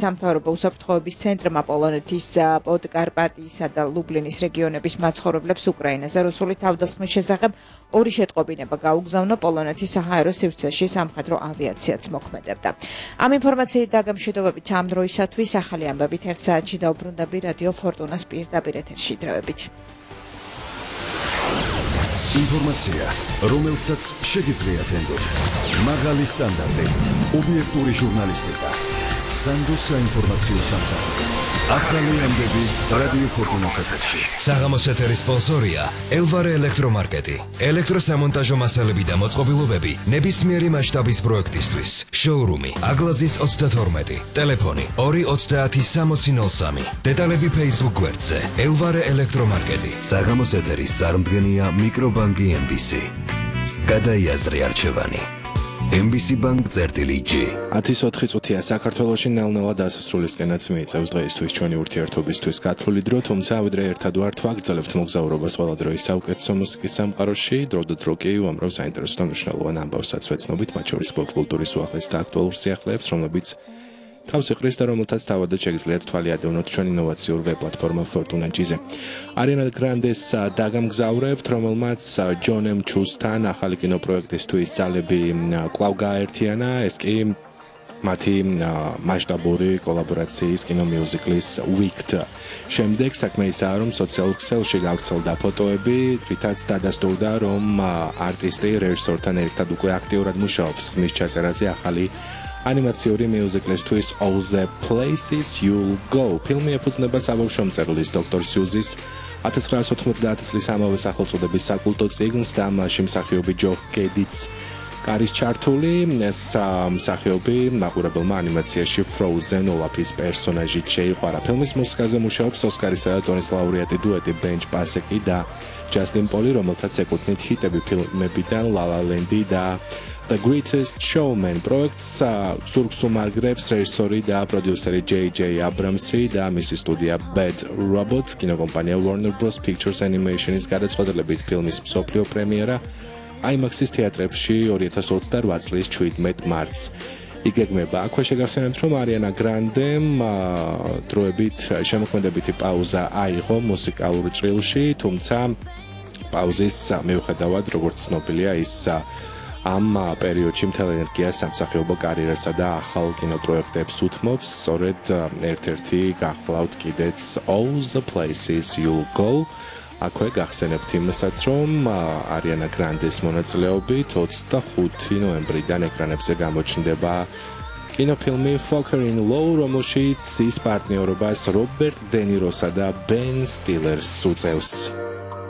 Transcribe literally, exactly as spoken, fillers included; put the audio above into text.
სამთავრობო უსაფრთხოების ცენტრმა პოლონეთის პოდკარპატიისა და ლუბლინის რეგიონების მაცხოვრებლებს უკრაინაზე რუსული თავდასხმის შესახებ ორი შეტყობინება გაუგზავნა პოლონეთის საჰაერო სივრცეში სამხედრო ავიაციაც მოქმედებდა. Ამ ინფორმაციით და გამშვიდობებით ამ დროისათვის ახალი ამბებით ერთ საათში დაუბრუნდები რადიო ფორტუნას პირდაპირ ეთერში დროებით. Ინფორმაცია, რომელსაც შეგიძლიათ ენდოთ. მაღალი სტანდარტი, ობიექტური ჟურნალისტიკა. Sandos საინფორმაციო სამსახური. ახალი ამბები რადიო ფორტუნას ეთერში. საღამოს ეთერის სპონსორია ელვარე ელექტრომარკეტი. ელექტროსამონტაჟო მასალები და მოწყობილობები ნებისმიერი მასშტაბის პროექტისთვის. შოურუმი აგლაძის ოცდათორმეტი. ტელეფონი ორი ოცდაათი სამოცი ნოლ სამი. დეტალები Facebook გვერდზე ელვარე ელექტრომარკეტი. საღამოს ეთერის წარმდგენია მიკრობანკი ემ ბი სი. გადაიაზრე არჩევანი. ემ ბი სი Bank წერტილი ჯი. ათის ოთხი წუთია საქართველოში ნელ-ნელა დასასრულისკენაც მიიწევს დღეისთვის ჩვენი ურთიერთობისთვის გათვლილი დრო, თუმცა ვიდრე ერთად ვართ ვაგრძელებთ მოგზაურობას ყველა დროის საუკეთესო მუსიკის სამყაროში, დრო და დრო კი უამრავ საინტერესო და მნიშვნელოვან ამბავსაც ვეცნობით, მათ შორის პოპ-კულტურის უახლეს და აქტუალურ სიახლეებს, რომლებიც თავს იყრის და რომელთაც თავადაც შეგიძლიათ თვალი ადევნოთ ჩვენ ინოვაციურ ვებ-პლატფორმა Fortuna G-ზე. Ariana Grandes დაგამგზავრებთ, რომელმაც John M. Chu-სთან ახალი კინოპროექტისთვის ძალები კვლავ გააერთიანა, ეს კი მათი მასშტაბური კოლაბორაციის კინომიუზიკლის Wicked. შემდეგ საქმე ისაა, რომ სოციალურ ქსელში გავრცელდა ფოტოები, რითაც დადასტურდა, რომ არტისტი რეჟისორთან ერთად უკვე აქტიურად მუშაობს ხმის ჩაწერაზე ახალი ანიმაციური მიუზიკლისთვის All the Places You'll Go. ფილმი ეფუძნება საბავშვო მწერლის დოქტორ სიუზის ათას ცხრაასი ოთხმოცდაათი წლის ამავე სახელწოდების საკულტო წიგნს და მასში მსახიობი ჯო კედიც არის ჩართული. ეს მსახიობი მაყურებელმა ანიმაციაში Frozen ოლაფის პერსონაჟით შეიყვარა. ფილმის მუსიკაზე მუშაობს ოსკარისა და ტონის ლაურეატი დუეტი ბენჯ პასეკი და ჯასტინ პოლი, რომელთაც ეკუთვნით ჰიტები ფილმებიდან La La Land და The Greatest Showman პროექტს ზურგს უმარგრებს რეჟისორი და პროდიუსერი ჯეი ჯეი აბრამსი და მისი სტუდია Bad Robot, კინოკომპანია Warner Bros. Pictures Animation-ის გადაწყვეტილებით ფილმის მსოფლიო პრემიერა IMAX-ის თეატრებში ორი ათას ოცდაოთხ წლის შვიდმეტ მარტს იგეგმება. აქვე შეგახსენებთ, რომ Ariana Grande-მ დროებით შემოქმედებითი პაუზა აიღო მუსიკალურ ჭრილში, თუმცა პაუზის მიუხედავად, როგორც ცნობილია, ის ამ პერიოდში მთელ ენერგიას სამსახიობო კარიერასა და ახალ კინოპროექტებს უთმობს. სწორედ ერთ-ერთი გახლავთ კიდეც All the Places You'll Go. აქვე გახსენებთ იმასაც, რომ Ariana Grandes მონაწილეობით ოცდახუთი ნოემბრიდან ეკრანებზე გამოჩნდება კინოფილმი Falker in Law, რომელშიც ის პარტნიორობას რობერტ დე ნიროსა და ბენ სტილერს უწევს.